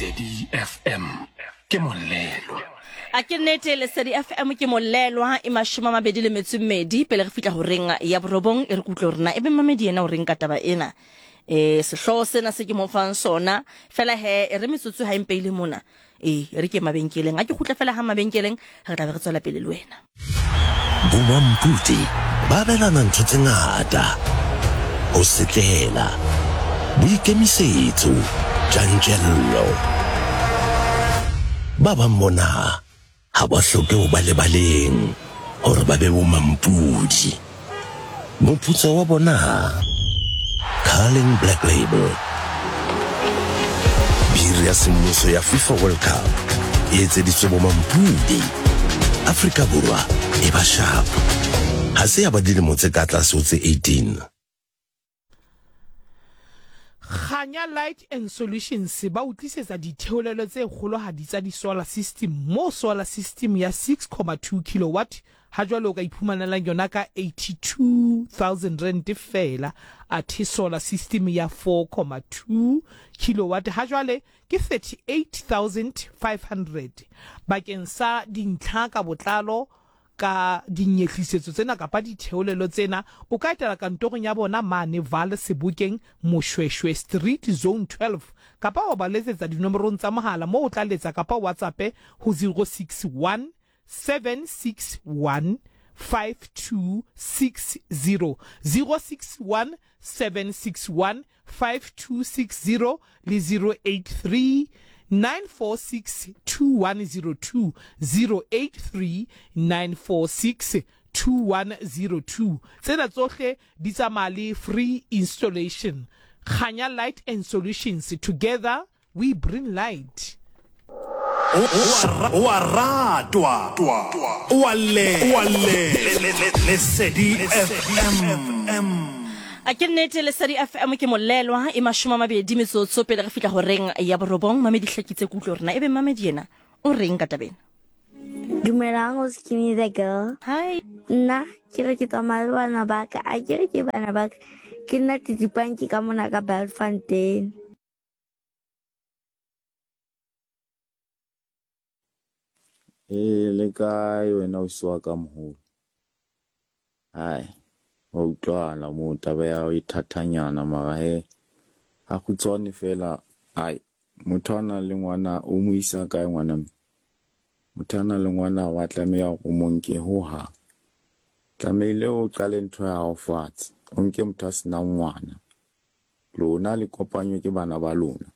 Lesedi FM ke molelwa. A ke nnete, Lesedi FM ke molelwa e 28 pele re fihla horeng ya borobong. E re ke utlwe hore na ebe mmamedi yena o reng ka taba ena. E, sehloho sena se ke mo fang sona fela he e re metsotso ha e mpeile mona. Ee, e re ke mabenkeleng. A ke kgutle fela ha mabenkeleng, re tla be re tswela pele le wena. Bomampudi ba abelana ntho tse ngata, ho setlela, boikemisetso, tjantjello. Ba bang bona ha ba hloke ho ba lebaleng hore ba be bomampudi. Moputso wa bona? Carling Black Label. Biri ya semmuso ya FIFA World Cup e etseditswe bomampudi. Afrika Borwa e ba sharp. Ha se ya ba dilemo tse ka tlase ho tse 18. Kganya Light and Solutions ba o tlisetsa ditheolelo tse kgolohadi tsa di-solar system moo solar system ya 6,2 kilowatt ha jwale o ka iphumanelang yona ka R82,000 feela, athe solar system ya 4,2 kilowatt ha jwale ke R38,500. Bakeng sa dintlha ka botlalo Ka dinyehlisetso tsena kapa ditheolelo tsena, o ka etela kantorong ya bona mane Vaal Sebokeng, Moshweshwe Street, Zone 12, kapa wa ba letsetsa dinomorong tsa mohala moo o tla letsa kapa o WhatsAppe ho 061 761 5260, 061 761 5260 le 083 946 2102, 083 946 2102. Tsena tsohle di tsamaya le free installation. Kganya Light and Solutions, together we bring light. O a ratwa, o a llelwa. Lesedi FM. A ke nnete, Lesedi FM ke molelwa e 20 metsotso pele re fihla horeng ya borobong. Mamedi hlakitse ke utlwe hore na ebe mamedi yena o reng ka tabena. Dumelang o Skinny the girl. Hi. Nna ke re ke tsamaya le bana ba ka, a ke re ke bana ba ka. Ke nna Titipanki ka mona ka Bultfontein. Ee, le kae wena ausi wa ka moholo? Hai, wa utlwahala moo taba ya hao e thathanyana mara he ha kgutshwane feela hai motho a nang le ngwana o mo isa kae ngwana mme? Motho a nang le ngwana wa tlameha hore o mo nke hohang. Tlamehile o qale ntho ya hao fatshe, o nke motho a senang ngwana. Lona le kopanywe ke bana ba lona.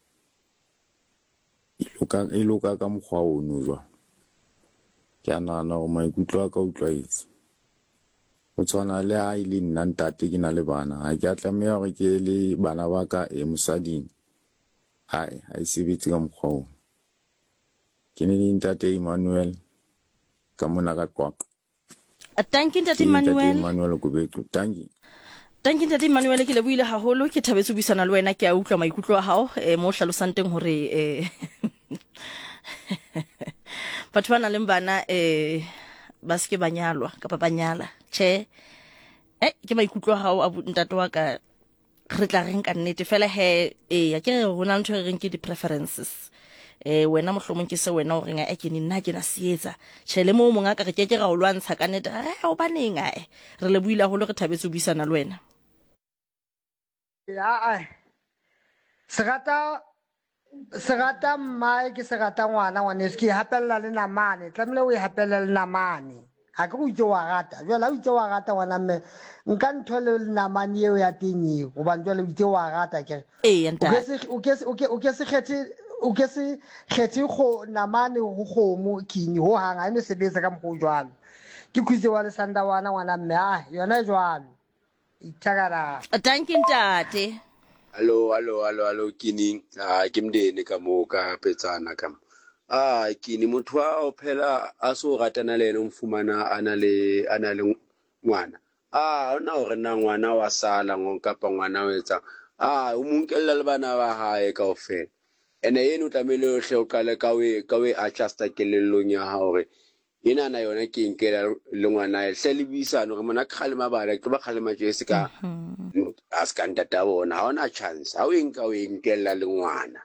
E loka, e loka ka mokgwa ono jwang? Ke a nahana hore maikutlo a ka utlwaetse. Ho tshwana le ha e le nna ntate ke na le bana, ha ke a tlameha hore ke le bana ba ka e mosading. Hai, ha e sebetse ka mokgwa ono. Ke ne le ntate Emmanuel ka mona ka Qwaqwa. Tanki ntate Emmanuel. Emmanuel Kobetso. Tanki. Tanki ntate Emmanuel ke lebohile haholo ke thabetse ho buisana le wena ke a utlwa maikutlo a hao eh, mo hlalosang teng hore eh, batho ba nang le bana eh, ba se ke ba nyalwa kapa ba nyala tjhe eh, ke maikutlo a hao a ntate wa ka Re tla reng ka nnete fela he eya ke re go na le ntho e reng ke di-preferences eh wena mohlomong ke se wena o reng a ke ne nna ke na se etsa tjhe le moo mongaka re ke ke ra o lwantsha ka nnete re hobaneng ae re lebohile haholo re thabetse ho buisana le wena. Aa se rata Se rata mmae ke se rata ngwana ngwaneso ke e hapella le namane tlamehile o e hapelle le namane ga ke go itse wa rata jale ga o itse wa rata ngwana mme nka ntho le namane eo ya teng eo gobane jale o itse wa rata kere o ke se kgethe o ke se kgethe go namane go kgomo kini ho hang ha e no sebetsa ka mokgwa o jwalo ke khutse wa lesandawana ngwana mme a yona e jwalo Ithakala. Dankie ntate. Hallo, hallo, hallo, hallo, Kini. Ah, ke mndeni ka mo ka petsana ka mo. Ah, Kini motho wa o phela a so ratana le yena o mfumana a na le a na le ngwana. Ah, ona hore na ngwana wa sala ngo kapa ngwana o etsang. Ah, o mo nkella le bana ba hae kaofela. Ene eno tlamehile o hle o qale ka o ka o adjusta kelellong ya hao hore Enana yona ke nkela le ngwanae hle le buisane hore mona ke kgalema bana ke tlo ba kgalema tje se ka a se ka ntata bona ha ona chance ha o e nka o e nkella le ngwana.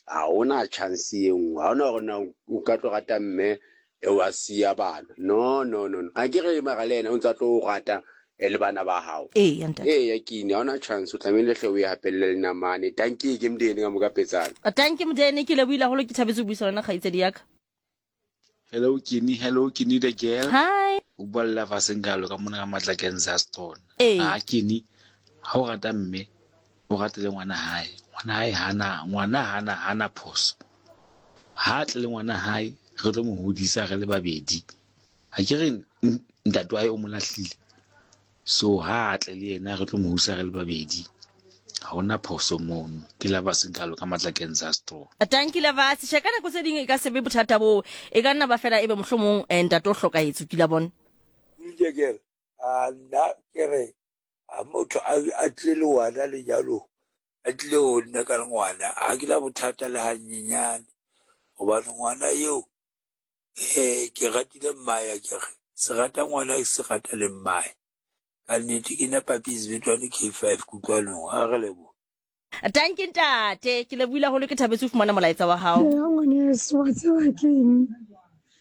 Ha hona chance e nngwe. Ha hona hore na o ka tlo rata mme e wa siya bana. No, no, no, no. A ke re mara le yena o ntse a tlo o rata e le bana ba hao. Ee, ntate. Ee, kini ha hona chance o tlamehile hle o e hapelle le namane. Tanki ke Modene ka moka petsana. Tanki Modene ke lebohile haholo ke thabetse ho buisana le wena kgaitsedi ya ka. Hello Kini, hello Kini the girl. Hi. O bua le Lava Sengalo ka mona ka matla Kansas Tona. Ee. Ha Kini, ha o rata mme, o rate le ngwana hae. Ngwana hae hana, ngwana hana hana phoso. Ha tle le ngwana hae, re tlo mo hodisa re le babedi. Ha ke re ntate wa hae o mo lahlile. So ha a tle le yena re tlo mo hodisa re le babedi. Ha hona phoso mono. Ke Lava Sengalo ka matla Kansas Tona. Tanki Lavas, tjhe ka nako tse ding e ka se be bothata boo. E ka nna ba fela ebe mohlomong eh, ntate o hlokahetse o kila bona. Ke ke re, a nna ke re ha motho a tlile le ngwana lenyalong, a tlile ho nna ka ngwana, ha ke na bothata le hanyenyane. Hobane ngwana eo eh ke ratile mmae akere, se rata ngwana se rata le mmae. Ka nnete ke nna Papi Sebetwane K5 Kutlwanong, ha re leboha. Tanki ntate, ke lebohile haholo ke thabetse ho fumana molaetsa wa hao. Eya ngwaneso, wa tseba keng?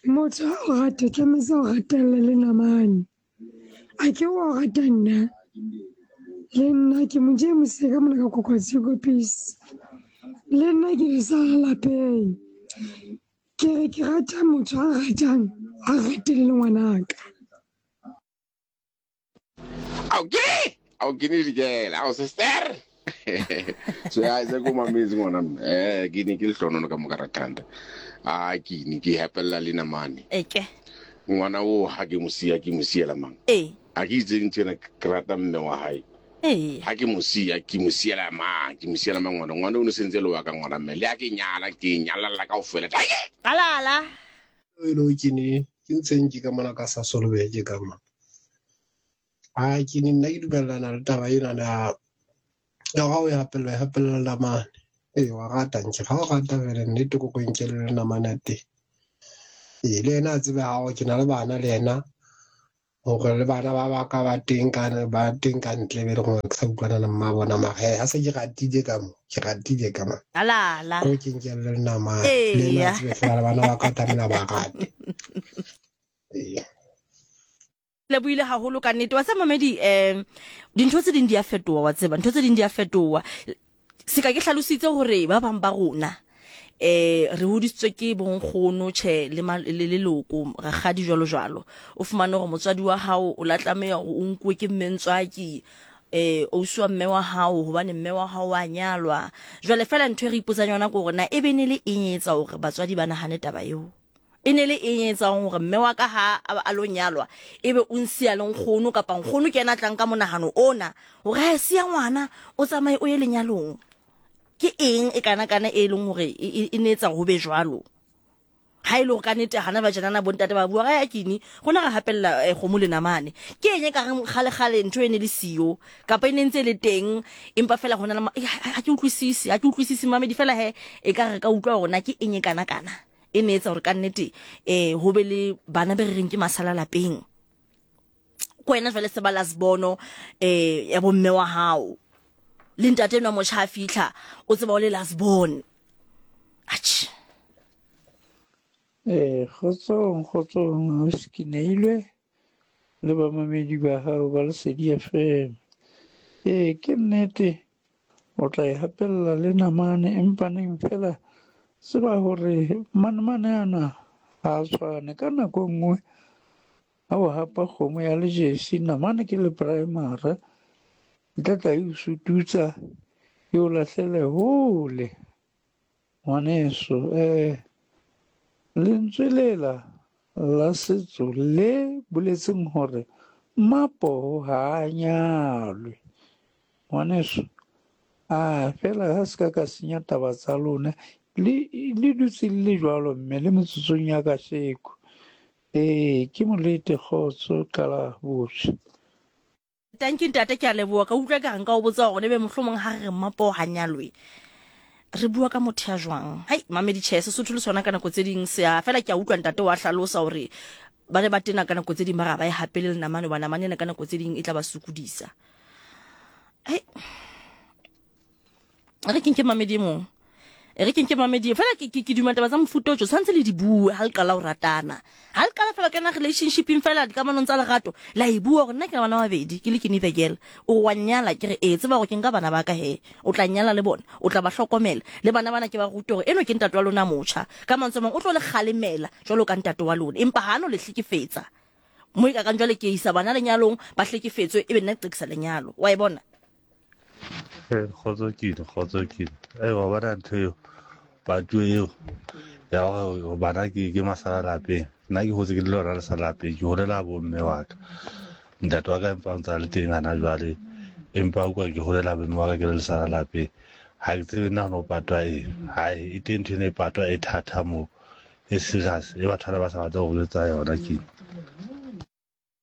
Motho ha o rata tlametse o ratelle le namane. A ke wa o rata nna? Le nna ke mo James ka mona ka Kokwatshiko peace. Le nna ke le sa lapeng. Ke re ke rata motho a ratang, a ratele le ngwanaka. Ao ke ao ke ne dikela ao sister so ya se ko mametse ngwana mme eh ke ne ke lehlonono ka moka ratanda a ke ne ke hapella le namane Eke. ngwana o ha ke mo siya ke mo siela mang Ee. a ke itseng tsena ke rata mme wa hae Ee. ha ke mo siya ke mo siela mang ke mo siela mang ngwana ngwana o ne sentse le wa ka ngwana mme le ha ke nyala ke nyalalla kaofela Alala. Hello ke ne ke ntseng ke ka mona ka sa solobeke ka mona. A ke ne nna ke dumellana le taba ena ya ya ga o e hapella e hapella namane. Ee wa rata nke ga o rata fela nnete ko ko nkele le namane ya teng. Ee le ena a tsebe hao ke na le bana le ena hore le bana ba ba ka ba teng ka ba teng ka ntle be le gore ke sa utlwana le mma bona mara he ha se ke ratile ka mo ke ratile ka mo Alala. ko ke nkele le namane le ena a Eya. tsebe fela le bana ba ka tlamehile ba rate. Ee. Lebohile haholo ka nnete. Wa tseba mamedi um dintho tse ding di a fetoha wa tseba. Ntho tse ding di a fetoha. Seka ke hlalositse hore ba bang ba rona eh re hodisitswe ke bonkgono tjhe le le leloko rakgadi jwalo jwalo. O fumane hore motswadi wa hao o la tlameha hore o nkuwe ke mme ntswaki eh ausi wa mme wa hao hobane mme wa hao wa nyalwa. Jwale fela ntho e re ipotsang yona ke hore na e be ne le eng e etsa hore batswadi ba nahane taba eo. E ne le eng e etsang hore mme wa ka ha a lo nyalwa ebe o nsiya le nkgono kapa nkgono ke yena a tlang ka monahano ona hore ha e siya ngwana o tsamaye o ye lenyalong? Ke eng e kana kana e leng hore e ne etsa ho be jwalo? Ha e le hore ka nnete hana ba tjenana bontate ba bua ya kini rona re hapella eh, kgomo le namane. Ke eng e ka reng kgale kgale ntho e ne le siyo kapa e ne ntse e le teng empa fela hona le ha ke utlwisise ha ke utlwisise mamedi fela he e ka re ka utlwa hore na ke eng e kana kana. E ne etsa gore ka nnete um ho be le bana be re reng ke masala lapeng. Ko wena jwale se ba last bono um ya bomme wa hao. Le ntate enwa motjha a fitlha o tseba o le last born. Atjhe. Eh, kgotsong, kgotsong, ausi ke neilwe le bamamedi ba hao ba Lesedi FM. Ee, ke nnete o tla e hapella le namane empa neng fela tseba hore manemane ana ha a tshwane. Ka nako e nngwe ha o hapa kgomo ya lejesi namane ke le primary e tla tla e o sututsa e o lahlele hole ngwaneso. Eh lentswe lela la setso le boletseng hore mmapoho ha a nyalwe ngwaneso. A fela ha se ka ka senya taba tsa lona le le dutse le le jwalo mme le metsotsong ya kasheko. Ee ke molete kgotso qala botjha. Tanki ntate ke a leboha ka utlwa ka re nka o botsa hore ebe mohlomong ha re re mmapoho ha nyalwe re bua ka motho ya jwang. Hai mamedi tjhe Sesotho le sona ka nako tse ding se a fela ke a utlwa ntate wa hlalosa hore ba ne ba tena ka nako tse ding ba re ba e hapele le namane hoba namane ena ka nako tse ding e tla ba sokodisa. Hai re ke nke mamedi e mong. E re ke nke mamedi fela ke ke duma taba tsa mofuta o tjo tshwanetse le di bue ha le qala ho ratana. Ha le qala fela kena relationshipeng fela dikamanong tsa lerato la e bua gore nna ke na bana ba babedi ke le ke the girl. O wa nnyala ke re ee tseba gore ke nka bana ba ka he o tla nnyala le bona o tla ba hlokomela le bana bana ke ba rute gore eno ke ntate wa lona motjha. Ka mantswe a mang o tlo le kgalemela jwalo ka ntate wa lona empa ha no le hlekefetsa. Mo e kakang jwale ke isa bana lenyalong ba hlekefetswe ebe nna ke qekisa lenyalo. Wa e bona? Ee, kgotso kile, kgotso kile. Ee, wa bona ntho eo, patu eo ya gore bana ke ke masala lapeng. Nna ke hotse ke le lona lesala lapeng, ke holela bo mme wa ka. Ntate wa ka empa o ntse a le teng hana jwale, empa o kwa ke holela bo mme wa ka ke le lesala lapeng. Ha ke tsebe nna ho no patwa eng. Hai, e teng ntho ena e patwa e thata moo, e serious, e batho bana ba sa batle ho jwetsa yona ke.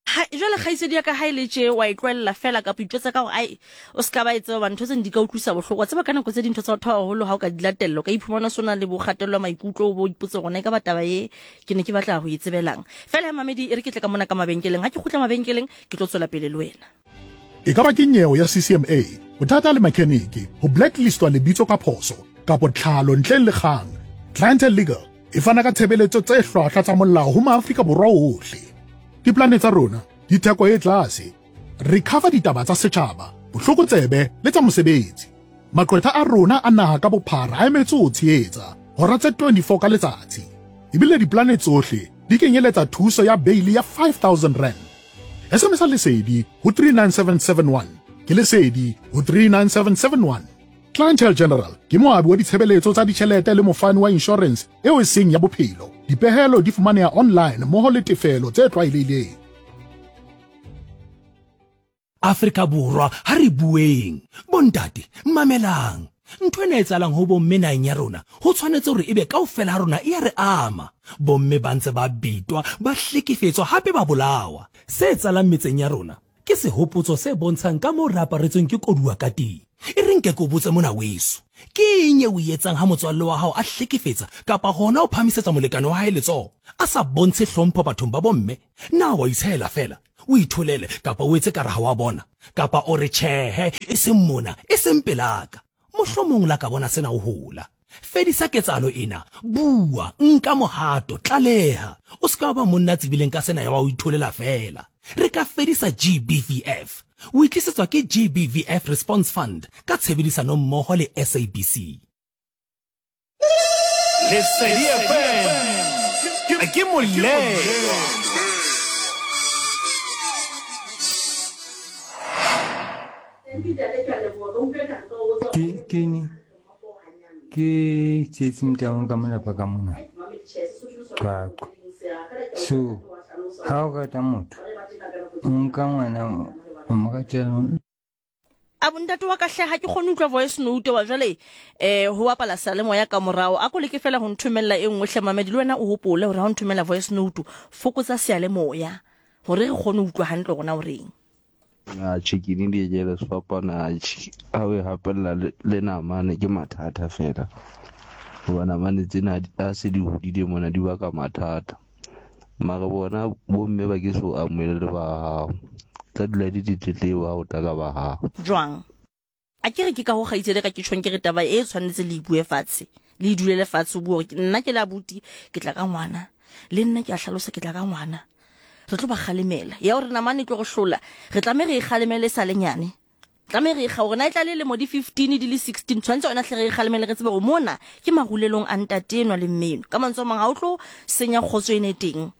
Ha, jwale kgaitsedi ya ka ha e le tje wa e tlohella feela kapa itjwetsa ka hore ai o se ka ba e tseba hobane ntho tseno di ka utlwisa bohloko. Wa tseba ka nako tse dintho tsa batho ba baholo ha o ka di latella o ka iphumana o se o na le bo kgatello ya maikutlo o bo o ipotse hore na ekaba taba e ke ne ke batla ho e tsebelang. Feela he mamedi e re ke tle ka mona ka mabenkeleng. Ha ke kgutla mabenkeleng ke tlo tswela pele le wena. E ka ba ke nyeo ya CCMA, bothata le makheniki, ho blacklistwa lebitso ka phoso, kapo tlhalo ntleng le kgang, Clientele Legal e fana ka tshebeletso tse hlwahlwa tsa molao ho maAfrika Borwa ohle. Diplane tsa rona di theko e tlase. Re cover ditaba tsa setjhaba, bohlokotsebe le tsa mosebetsi. Maqwetha a rona a naha ka bophara a emetse ho tshehetsa hora tse 24 ka letsatsi. Ebile diplane tsohle di kenyeletsa thuso ya beili ya 5000 rand. SMS Lesedi ho 39771. Ke Lesedi ho 39771. Clientele General ke moabi wa ditshebeletso tsa ditjhelete le mofani wa inshorense eo e seng ya bophelo. Dipehelo di fumaneha online mmoho le tefelo tse tlwaelehileng. Afrika Borwa, ha re bueng. Bontate, mamelang. Ntho ena e etsahalang ho bomme naheng ya rona, ho tshwanetse hore ebe kaofela ha rona e a re ama. Bomme ba ntse ba betwa, ba hlekefetswa hape ba bolawa. Se etsahalang metseng ya rona Ke sehopotso se bontshang ka moo re aparetsweng ke koduwa ka teng. E re nke ke o botse mona weso, ke eng eo o e etsang ha motswalle wa hao a hlekefetsa kapa hona ho phahamisetsa molekane wa hae letsoho a sa bontshe hlompho bathong ba bomme? Na wa itshehela feela, o itholele kapa o etse kare ha wa bona? Kapa o re, Tjhehe, e seng mona, e seng pelaka. Mohlomong la ka bona sena o hola. Fedisa ketsahalo ena. Bua, nka mohato, tlaleha. O se ke wa ba monna a tsebileng ka sena ya ba o itholela feela. Re ka fedisa GBVF. O e tlisetswa ke GBVF Response Fund ka tshebedisano mmoho le SABC. Lesedi FM ke molelwa. Ke kene ke Tsietsi Motaung ka molapa ka mona Qwaqwa. So ha o rata motho o nka ngwana o mo ratela A bontate wa ka hle ha ke kgone utlwa voice note wa jwale eh ho bapala salemoya ka morao a ko leke fela ho nthomella e nngwe hle mamedi le wena o hopole hore ha o nthomella voice note fokotsa seyalemoya hore re kgone ho utlwa hantle hore na o reng. Atjhe ke ne di jele sefapano atjhe ha o e hapella le namane ke mathata fela hoba namane tsena ha se di hodile mona di baka mathata mara bona bomme ba ke so amohele le ba hao tla dula di ditletlebo ha o tla ka ba hao. Jwang? A ke re ke ka ho kgaitsedi ka ke tjhong ke re taba e tshwanetse le e bue fatshe, le e dulele fatshe o bue hore nna ke le abuti ke tla ka ngwana, le nna ke a hlalosa ke tla ka ngwana. Re tlo ba kgalemela. Ya hore namane e tlo re hlola, re tlameha re e kgalemele e sa le nyane. Tlameha re e kga hore na e tla le lemo di 15 di le 16 tshwanetse yona hle re e kgalemele re tsebe hore mona ke marulelong a ntate enwa le mme enwa. Ka mantswe a mang ha o tlo senya kgotso ena e teng.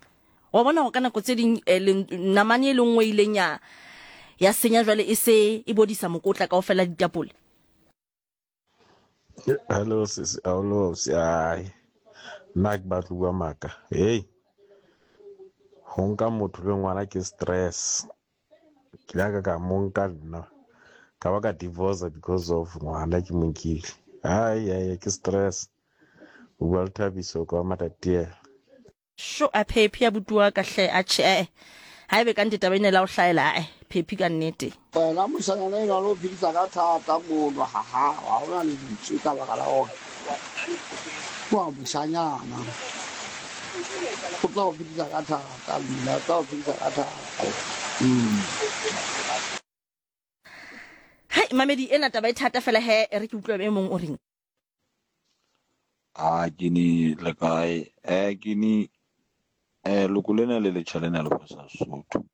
Wa bona hore ka nako tse ding eh, namane e le nngwe e ileng ya ya senya jwale e se e bodisa mokotla kaofela ditapole. Hello sisi, hello sisi. Ai. Nna ke batlo bua maka. Hey. Ho nka motho le ngwana ke stress. Ke la ka ka mo nka nna. Ka ba ka divorce because of ngwana ke mo nkile. Ai ai ke stress. O bua le Thabiso kwa Matatiele. Sho a Phephi abuti wa ka hle atjhe eh haebe ka nnete taba ena e la o hlahela ae Phephi ka nnete. Wena moshanyana enwa le o phedisa ka thata mono ha hao ha hona lentswe ka baka la hore wa moshanyana o tla o phedisa ka thata mme o tla o phedisa ka thata mm. Hai mamedi ena taba e thata fela he e re ke utlwe e mong o reng. A ke ni le kae? Eh ke ni eh loko lena le letjha lena le fosa Sesotho.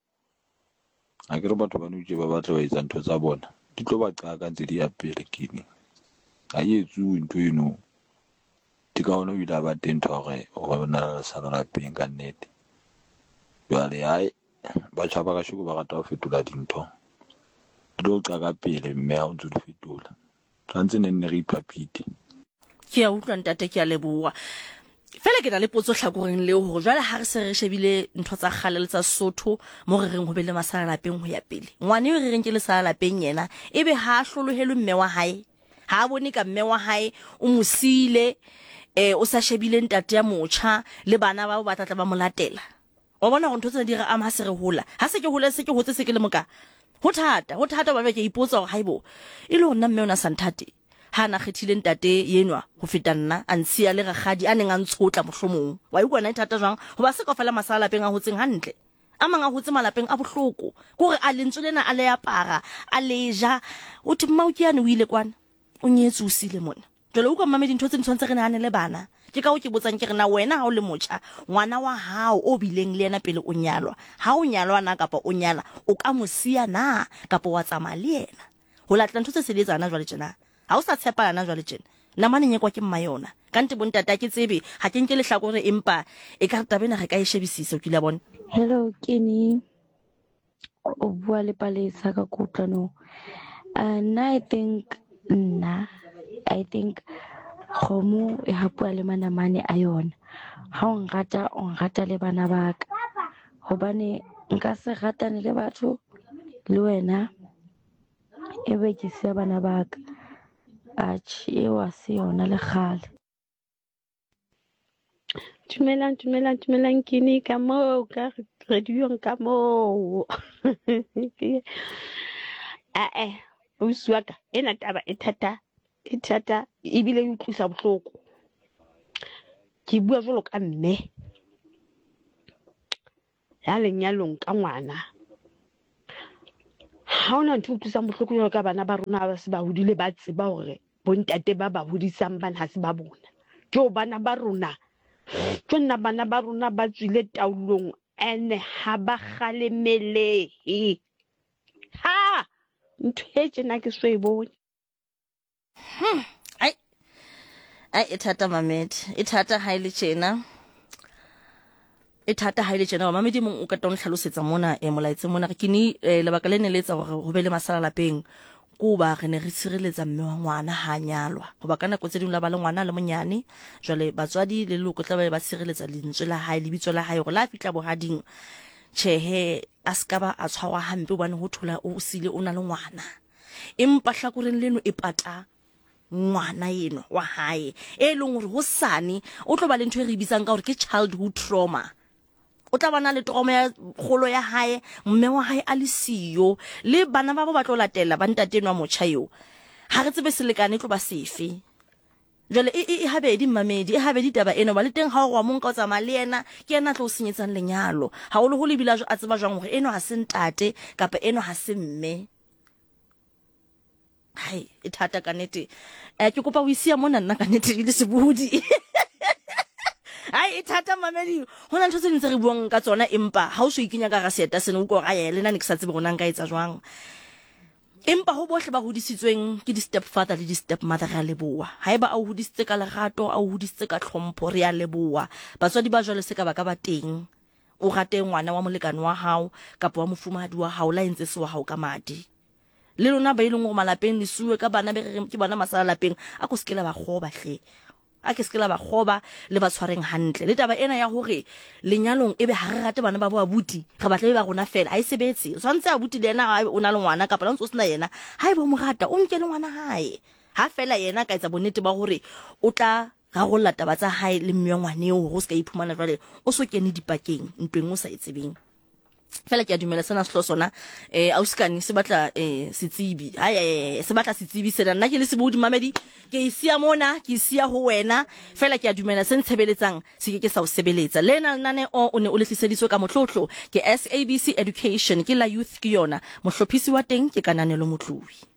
Ha ke re batho ba nou tje ba batla ho etsa ntho tsa bona. Di tlo ba qaka ntse di ya pele ke ni. Ha e etsuwe ntho eno. Ke ka hona o ile a ba teng ntho ya hore hore na le lesala lapeng ka nnete. Jwale hae batjha ba kasheko ba rata ho fetola dintho. Di tlo qaka pele mme ha o ntso di fetola. Tshwantse ne nne re iphaphite. Ke a utlwa ntate, ke a leboha. Fela ke na le potso hlakoreng leo hore jwale ha re se re shebile ntho tsa kgale le tsa Sesotho mo re reng ho be le masala lapeng ho ya pele. Ngwana eo re reng ke lesala lapeng yena ebe ha a hlolohelwe mme wa hae, ha a bone ka mme wa hae o mo siile eh o sa shebile ntate ya motjha le bana bao ba tla tla ba mo latela. Wa bona gore ntho tsena di re ama ha se re hola. Ha se ke hole se ke hotse se ke le moka. Ho thata, ho thata ba ke ipotsa gore haibo. E le hore nna mme o na sa nthate. Ha na kgethile ntate yenwa ho feta nna, a ntshiya le rakgadi a neng a ntshotla mohlomong. Wa e utlwa na e thata jwang? Hoba se kaofela masala lapeng a hotseng hantle. A mang a hotse malapeng a bohloko. Ke hore a lentswe lena a le apara, a le ja. O thwe mmao ke yane o ile kwana. O nyetswe o siile mona. Jwale utlwa mmamedi ntho tse di tshwanetse re nahane le bana. Ke ka hoo ke botsang ke re na wena ha o le motjha, ngwana wa hao o bileng le yena pele o nyalwa, ha o nyalwa na kapa o nyala, o ka mo siya na kapa wa tsamaya le yena? Ho latela ntho tse se di etsahala na jwale tjena? Ha o sa tshepana na jwale tjena? Namane e nyekwa ke mma yona. Ka nnete bontate ha ke tsebe, ha ke nke lehlakore empa ekare taba ena re ka e shebisisa, o kile wa bona? Hello Kenny. O bua le Palesa ka kutlwanong. Nna I think nna I think kgomo e hapuwa le manamane a yona. Ha o nrata o nrata le bana ba ka. Hobane nka se ratane le batho le wena ebe ke siya bana ba ka. Atjhe eo ha se yona le kgale. Dumelang, dumelang, dumelang kini ka moo ka radiong ka moo. Ae, ausi wa ka ena taba e thata, e thata ebile e utlwisa bohloko. Ke bua jwalo ka mme ya lenyalong ka ngwana. Ha hona ntho e utlwisang bohloko jwalo ka bana ba rona ba se ba hodile ba tseba hore bontate ba ba hodisang bana ha se ba bona. Jo bana ba rona, jo nna bana ba rona ba tswile taolong ene ha ba kgalemelehe. Ha ntho e tjena ke so e bone. Ai. Ai e thata mamedi. E thata ha ile tjena. E thata ha ile tjena mamedi mong o ka tla ntlhalosetsa mona e molaetse mona re kini eh, lebaka le ne le etsa hore ho be le masala lapeng ko ba re ne re tshireletsa mme wa ngwana ha nyalwa hoba ka nako tse dingwe la ba le ngwana le monyane jwale batswadi le leloko tla ba ba tshireletsa lentswe la hae lebitso la hae hore la fihla bohading tjhehe a se ka ba a tshwarwa hampe hobane ho thola o sile o na le ngwana Empa hlakoreng leno e pata ngwana enwa wa hae e leng hore hosane o tlo ba le ntho e re bitsang ka hore ke childhood trauma. O tla bana le trauma ya kgolo ya hae, mme wa hae a le siyo le bana ba bo ba tlo latela ba ntate enwa motjha eo. Ha re tsebe selekane e tlo ba sefe. Jwale e, e, e habedi mmamedi, e habedi taba ena, hoba le teng ha o re wa mo nka o tsamaya le yena, ke yena a tlo o senyetsang lenyalo. Haholoholo ebile a tseba jwang hore enwa ha se ntate kapa enwa ha se mme. Hai, e thata ka nete. Eh, ke kopa o isiya mona nna ka nete le sebohodi. Hai, e thata mamedi. Ho na ntho tse ding tse re buang ka tsona empa ha o so ikenya ka hara seeta sena o utlwa hore ae le nna ne ke sa tsebe hore na nka etsa jwang. Empa ho bohle ba hodisitsweng ke di-stepfather le di-stepmother re a leboha. Haeba a o hodisitse ka lerato, a o hodisitse ka tlhompho, re a leboha. Batswadi ba jwale se ka ba ka ba teng. O rate ngwana wa molekane wa hao kapa wa mofumahadi wa hao la entse se wa hao ka madi. Le lona ba e leng hore malapeng le suwe ka bana be re reng ke bona masala lapeng, a ko se ke la ba kgoba hle. A ke se ke la ba kgoba, le ba tshwareng hantle. Le taba ena ya hore lenyalong ebe ha re rate bana ba bo abuti, re batla ebe ba rona feela, ha e sebetse. O tshwanetse abuti le yena ha o na le ngwana kapa le ha o ntse o sena yena, haeba o mo rata, o nke le ngwana hae. Ha feela yena a ka etsa bonnete ba hore o tla rarolla taba tsa hae le mme wa ngwana eo hore o se ka iphumana jwale o so kene dipakeng ntweng o sa e tsebeng. Fela ke a dumela sena sehlo sona eh ausikane se batla eh setsebi hai eh, se batla setsebi sena nna ke le sebohodi mamedi ke e siya mona ke e siya ho wena fela ke a dumela se ntshebeletsang se ke ke sa o sebeletsa lena lenaneo o ne o le tliseditswe ka motlotlo ke SABC Education ke la youth ke yona mohlophisi wa teng ke Kananelo Motlohi.